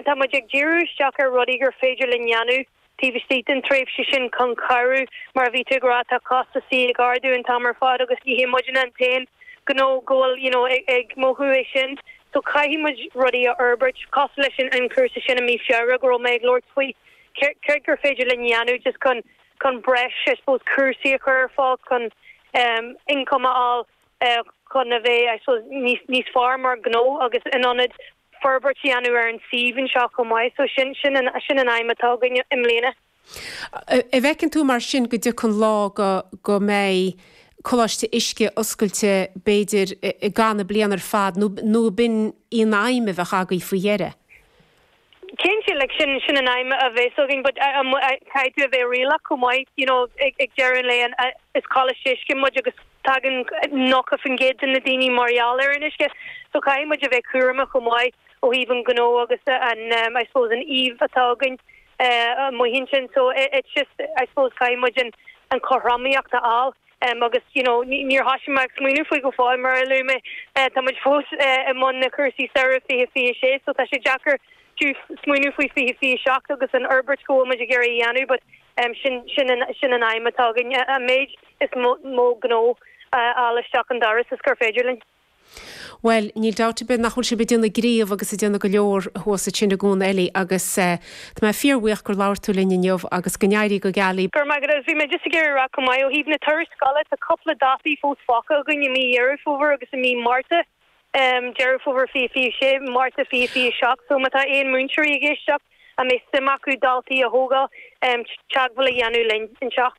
Tá muid ag díriú isteach ar rudaí gur féidir linn dhéanamh taobh istigh den tréimhse sin chun cabhrú. Mar a bhí tú ag rá, tá costasaí ag ardú an t-am ar fad agus ní hé muidne an t-aon ghnó go bhfuil you know ag mothú é sin. So caithfidh muid rudaí a fhorbairt, cosúil leis an chúrsa sin i mí Feabhra go raibh mé ag labhairt faoi. Céard gur féidir linn dhéanamh just chun chun breis I suppose cúrsaí a chur ar fáil chun ioncam a fháil chun a bheith I suppose níos níos fearr mar ghnó agus in ionad forbairt a dhéanamh ar an suíomh anseo chomh maith. So sin sin an sin an aidhm atá againn i mbliana. An bhfeiceann tú mar sin go dtiocfaidh an lá go go mbeidh Coláiste Uisce oscailte b'fhéidir i gcaitheamh na bliana ar fad nó nó b'in í an aidhm a bheadh agaibh faoi dheireadh? Cinnte, like sin sin an aidhm a bheas againn but caithfidh tú a bheith réalaíoch chomh maith, you know, ag ag deireadh an lae is Coláiste Uisce muid agus tagann 90% de na daoine mar gheall ar an uisce so caithfidh muid a bheith cúramach chomh maith ó thaobh an ghnó agus an I suppose an aoibh atá againn amuigh ansin so it's just I suppose caithfidh muid an an chothromaíocht a fháil. Agus you know níor thosaigh mé ag smaoineamh faoi go fóill mar a luaigh mé tá muid fós i mbun na cúrsaí samhradh 2026 so tá sé deacair fiú smaoineamh faoi 2027 agus an fhorbairt go bhfuil muid ag iarraidh a dhéanamh but sin sin an sin an aidhm atá againn an méid is mó gnó a fháil isteach an doras is gur féidir linn. Bhuel, níl dabht ar bith nach bhfuil sibh ag déanamh gníomh agus ag déanamh go leor thuas ansin i gCuan Eilí agus tá mé fíorbhuíoch gur labhair tú linn inniu agus go n-éirí go geal libh. Go raibh maith agat agus bhí mé just ag iarraidh a rá chomh maith ó thaobh na turais scoile tá cúpla dátaí fós fágtha againn i mí Dheireadh Fómhair agus i mí Márta, Deireadh Fómhair 2026, Márta 2027 so má tá aon múinteoirí ag éisteacht a mbeidh suim acu daltaí a thógáil teagmháil a dhéanamh linn anseo.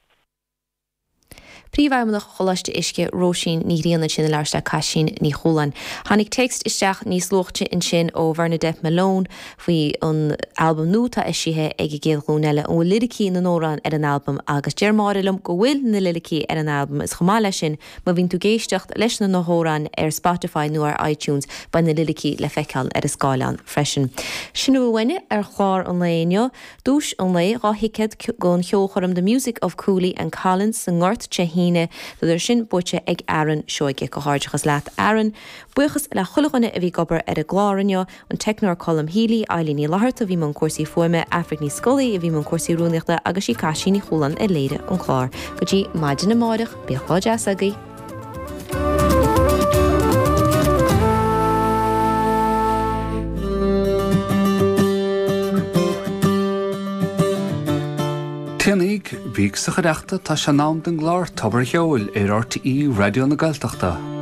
Príomhfheidhmeannach Choláiste Uisce, Róisín Ní Ghrianna ansin ag labhairt le Caisín Ní Chualáin. Tháinig téacs isteach níos luaite ansin ó Bhernadette Malone faoi an albam nua atá eisithe ag an gCéad Ghlúin Eile. An bhfuil liricí na n-amhrán ar an albam? Agus deir Máire liom go bhfuil na liricí ar an albam is chomh maith leis sin má bhíonn tú ag éisteacht leis na hamhráin ar Spotify nó ar iTunes beidh na liricí le feiceáil ar an scáileán freisin. Sin a bhfuil uainne ar chlár an lae inniu. Duais an lae, 2 thicéad don cheolchoirm The Music of Cooley and Collins sa nGort Dé hAoine, tá sin buaite ag Aaron Seoige. Comhghairdeachas leat Aaron. Buíochas le chuile dhuine a bhí ag obair ar an gclár inniu, an teicneoir Colm Healy, Eilín Ní Fhlatharta a bhí i mbun cúrsaí fuaime, Aifric Ní Scolaí a bhí i mbun cúrsaí rúnaíochta agus sí Caisín Ní Chualáin a léirigh an clár. Go dtí maidin amáireach, bíodh lá deas agaibh. Téanaíg, bíg sa chuideachta, tá sé in am don gclár Tobar a' Cheoil ar RTÉ Raidió na Gaeltachta.